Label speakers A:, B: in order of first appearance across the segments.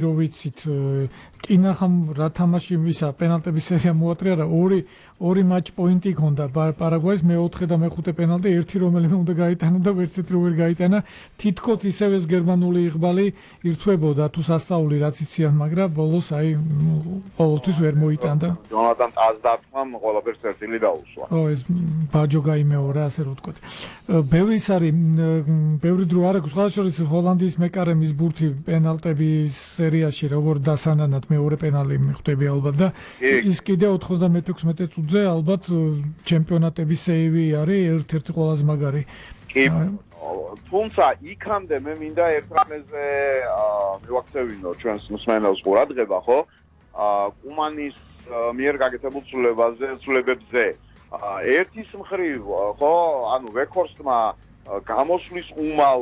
A: რო ვიცით კინახამ რა თამაში ვისა პენალტების სერია მოატრია რა ორი матч პოინტი ჰქონდა პარაგვაის მეოთხე და მეხუთე პენალტი ერთი რომელიმე უნდა გაიტანა და ვერცეთ რო ვერ გაიტანა თითქოს ისევ ეს გერმანული იღბალი ირთვებოდა თუ სასწაული რაც იციან მაგრამ ბოლოს აი ყოველთვის ვერ მოიტანდა
B: ჯონატან ტაზდათმამ ყველაფერს წერტილი დაუსვა
A: ეს ბაჯო გაიმეორა ასე რო ვთქვათ ბევრი ის არის ბევრი დრო არ აქვს სხვა შორის ჰოლანდიის მეკარემის ბურთი პენალტების სერიაში როგორ დასანანად მეორე პენალი მიხვდები ალბათ და ის კიდე 96 წუთზე ალბათ ჩემპიონატების სეივი არის ერთ-ერთი ყველაზე მაგარი.
B: კი, თუმცა იქამდე მე მინდა ერთ რამეზე მივაქცევინო ჩვენს მსმენელს ყურადღება, ხო? კუმანის მიერ გაკეთებულ ცვლილებებზე. ერთის მხრივ, ხო, ანუ ვექორსტმა გამოსვლის უმალ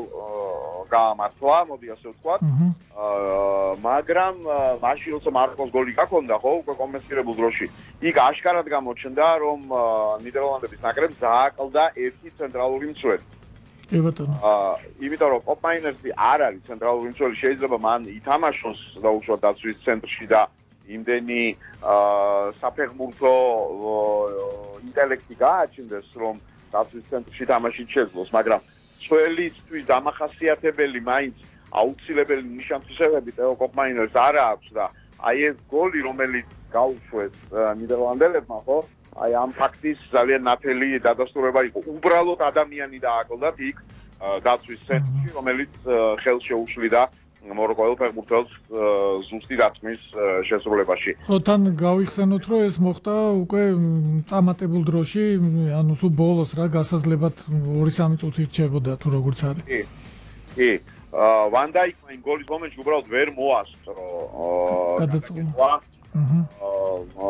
B: გაამართლა, მოდი ასე ვთქვათ. მაგრამ მაშინ როცა მარკოს გოლი გაქონდა, ხო, უკვე კომპენსირებულ დროში, იქ აშკარად გამოჩნდა, რომ ნიდერლანდების ნაკრებს დააკლდა ერთი ცენტრალური მცველი.
A: კი ბატონო.
B: იმიტომ რომ კოპმაინერსი არ არის ცენტრალური მცველი, შეიძლება მან ითამაშოს დაუშვათ დაცვის ცენტრში და იმდენი საფეხბურთო ინტელექტი გააჩნდეს, რომ დაცვის ცენტრში თამაშით შეძლოს, მაგრამ მცველისთვის დამახასიათებელი მაინც აუცილებელი ნიშანმთვისებები ტეო კოპმაინერს არ აქვს და აი ეს გოლი რომელიც გაუშვეს ნიდერლანდებმა ხო აი ამ ფაქტის ძალიან ნათელი დადასტურება იყო უბრალოდ ადამიანი დააკლდათ იქ დაცვის ცენტრში რომელიც ხელს შეუშლიდა მოროკოელ ფეხბურთელს ზუსტი დათმის შესრულებაში.
A: თან გავიხსენოთ რომ ეს მოხდა უკვე წამატებულ დროში, ანუ სულ ბოლოს რა გასაზრდებათ 2-3 წუთი რჩებოდა თუ როგორც არის.
B: კი. ვან დაიკმა იმ გოლის მომენტში უბრალოდ ვერ მოასწრო.
A: გადაწყდა.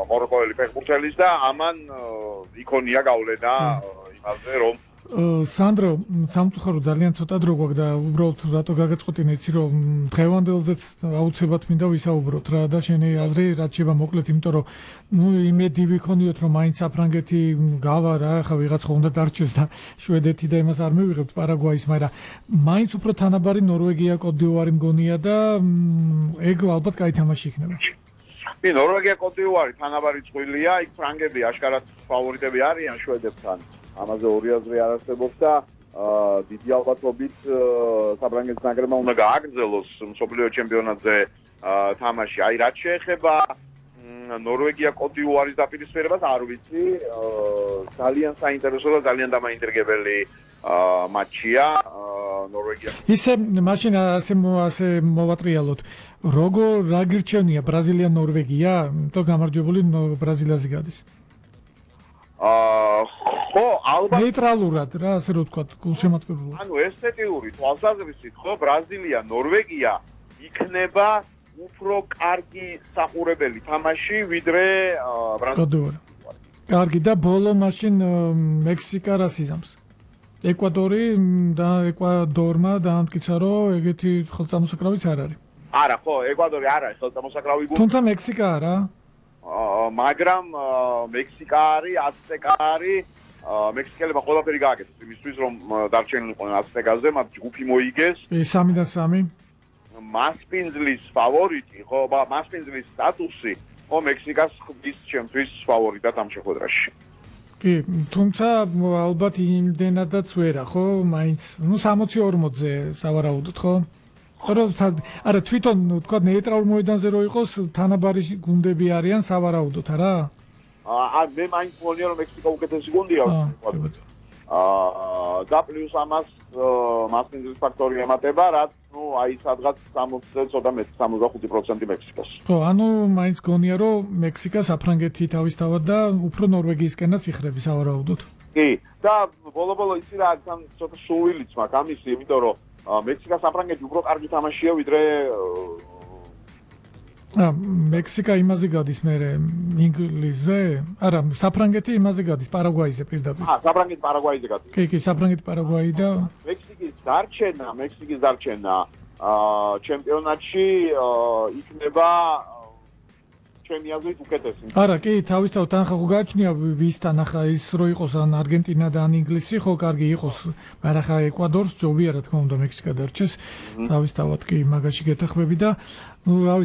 B: მოროკოელი ფეხბურთელის და ამან იქონია გავლენა იმაზე რომ
A: სანდრო, სამწუხარო ძალიან ცოტა დრო გვაქვს და უბრალოდ რატო გაგაწყოთინე იცი რომ დღევანდელზეც აუცილებლად მინდა ვისაუბროთ რა და შენი აზრი რაც შეება მოკლედ იმიტომ რომ ნუ იმედი ვიქონიოთ რომ მაინც საფრანგეთი გავა რა ხა ვიღაცა უნდა დარჩეს და შვედეთი და იმას არ მივიღებთ პარაგვაის მაგრამ მაინც უფრო თანაბარი ნორვეგია კოტ-დ'ივუარი მგონია და ეგ ალბათ კაი თამაში იქნება
B: კი ნორვეგია კოტ-დ'ივუარი თანაბარი წვლილია იქ ფრანგები აშკარად ფავორიტები არიან შვედებთან ამაზე ორი აზრი არ არსებობს და დიდი ალბათობით საფრანგეთის ნაკრებმა უნდა გააგრძელოს მსოფლიო ჩემპიონატზე თამაში. აი რაც შეეხება ნორვეგია კოტ-დ'ივუარის დაპირისპირებას არ ვიცი, ძალიან საინტერესო და ძალიან დამაინტრიგებელი მატჩია ნორვეგია.
A: ისე მაშინ ასე მოვატრიალოთ. როგორ რა გირჩევნია ბრაზილია ნორვეგია? თუ გამარჯვებული ბრაზილიაზე გადის.
B: ხო, ალბათ
A: ნეიტრალურად რა ასე რო ვთქვათ, გულშემატკივრულად.
B: ანუ ესთეტიური თვალსაზრისით, ხო, ბრაზილია, ნორვეგია იქნება უფრო კარგი საყურებელი თამაში, ვიდრე
A: ბრაზილია. კარგი და ბოლო მაშინ მექსიკა რას იზამს? ეკვადორი და ეკვადორმა დაამტკიცა, რომ ეგეთი ხელწამოსაკრავიც არ არის.
B: არა, ხო, ეკვადორი არ არის ხელწამოსაკრავი გუნდი.
A: თუმცა მექსიკა არა.
B: მაგრამ მექსიკა არის, აცტეკა არის, მექსიკელებმა ყველაფერი გააკეთეს იმისთვის, რომ დარჩენილიყვნენ აცტეკაზე, მათ ჯგუფი მოიგეს.
A: 3-3.
B: მასპინძლის ფავორიტი, ხო, მასპინძლის სტატუსი, ხო, მექსიკას ხდის ჩემთვის ფავორიტად ამ შეხვედრაში.
A: კი, თუმცა ალბათ იმდენადაც ვერა, ხო, მაინც, ნუ 60-40-ზე სავარაუდოდ, ხო? არა თვითონ თქვა ნეიტრალურ მოედანზე რო იყოს თანაბარი გუნდები არიან სავარაუდოდ არა?
B: მე მაინც მგონია რომ მექსიკა უკეთესი გუნდია და პლუს ამას მასპინძლის ფაქტორი ემატება რაც ნუ აი სადღაც 60-ზე ცოტა მეტი 65% მექსიკას.
A: ხო, ანუ მაინც გონია რომ მექსიკა საფრანგეთი თავისთავად და უფრო ნორვეგიისკენაც იხრები სავარაუდოდ.
B: კი, და ბოლო-ბოლო იცი რა თან ცოტა სულიც მაქვს ამისი, იმიტომ რომ მექსიკა საფრანგეთი უფრო კარგი თამაშია ვიდრე
A: მექსიკა იმაზე გადის მერე ინგლისზე? არა, საფრანგეთი იმაზე გადის პარაგვაიზე პირდაპირ.
B: საფრანგეთი პარაგვაიზე გადის.
A: კი, საფრანგეთი პარაგვაი და
B: მექსიკის დარჩენა ჩემპიონატში იქნება ჩემი აზრით უკეთესი.
A: არა, კი, თავისთავად თან ხო გააჩნია ვისთან ახლა ის რო იყოს ან არგენტინა და ან ინგლისი, ხო კარგი იყოს, მაგრამ ახლა ეკვადორს ჯობია რა თქმა უნდა მექსიკა დარჩეს. თავისთავად კი მაგაში გეთახმები და ნუ